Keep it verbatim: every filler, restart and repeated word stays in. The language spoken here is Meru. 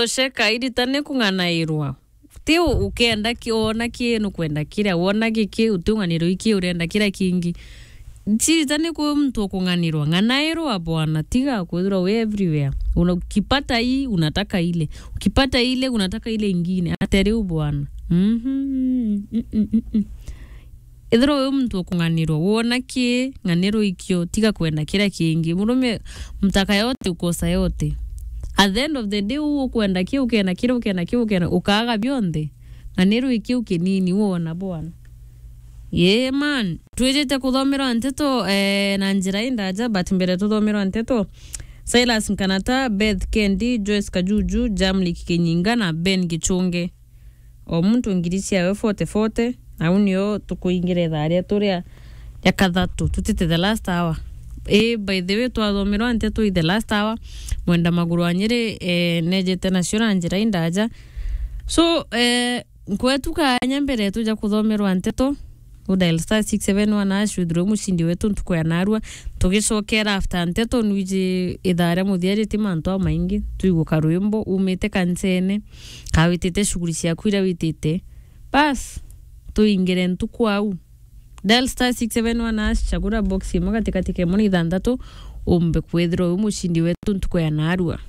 Tosheka, irita ni kung'anairwa. Ti u-, ukenda ki, wona ki, nukwenda kiria, wona giki, utiung'anirwa iki, urenda kiria kingi. Chirita ni kwi muntu ukung'anirwa. Ng'anairwa bwana, tiga kwithirwa wi everywhere. Una-, ukipata hii, unataka ile. Ukipata ile, unataka ile ingine. Ate riu bwana. Mhm. Mm, mm, mm, mm. Ethirwa wi muntu ukung'anirwa, wona ki, ng'anirwa ikio, tiga kwenda kiria kingi. Murume, mtaka yote, ukosa yote. At the end of the day, uu ukwenda ki, ukenda kiri, ukenda ki, ukenda, ukaaga bionthe. Ng'anirwa ikiu kinini, wona bwana. Yeah, man. Twijite kuthomerwa nteto, eh, na njira indaja, but mbere tuthomerwa nteto, Silas Nkanata, Beth Kendi, Joyce Kajuju, Jamlik Kinyinga na Ben Gichunge. O muntu ngiri ciawe forty forty, au nio tukuingira ithaa rietu ria, ria kathatu, tutite the last hour. Ii, by the way, twathomerwa nteto i the last hour, mwenda maguru wa Nyeri, eh, nejete nacio na njira indaja. So, eh, nkwetu kanya mbere tuja kuthomerwa nteto, u dial star six seven one hash, withirwe mucindi wetu ntuku ya narua. Tugicokera after nteto, nwiji ithaa ria muthia riti mantu amaingi, twigua karwimbo, umite kancene, ka witite shughuli ciaku iria witite. Bas, tuingire ntuku au. Dial star six seven one hash, chagura box imwe katikati ka imwe na ithanthatu, umbe kwithirwa wi mucindi wetu ntuku ya narua.